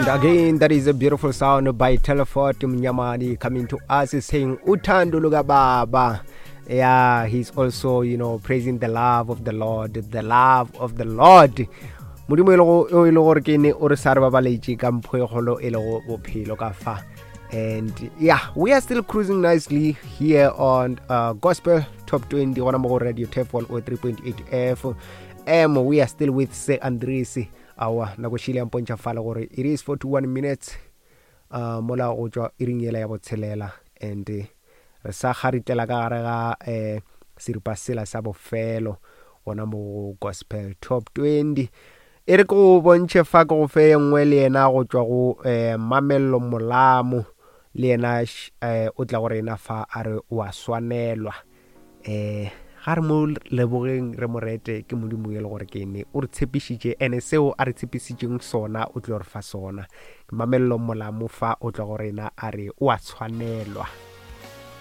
And again, that is a beautiful sound by Telefort Mnyamani coming to us saying, Uthando Baba. Yeah, he's also, you know, praising the love of the Lord, the love of the Lord. modimo e le gore ke ne o re sa re babaletše ka mpho e kgolo e lego bophelo ka fa and yeah we are still cruising nicely here on uh, gospel top 20 gona mo go radio tef 103.8 f m we are still with se andres awa nako šile ya mpontšha fale gore it is 41 minutes uh, mola go tšwa iring yela ya botshelela and eh, re sa kgaritlela ka gare ga um seripa sela sa bofelo gona mo go gospel top 20 e re ke go bontšhe fa ke go fe ye nngwe le yena go tšwa go um mamello molamo le yena um o tla go rena fa a re o a swanelwa um ga re mo lebogeng re mo rete ke modimo e le gore ke ne o re tshepišitše ene seo a re tshepišitšeng sona o tlo re fa sona mamello molamo fa o tla go rena a re o a tshwanelwa.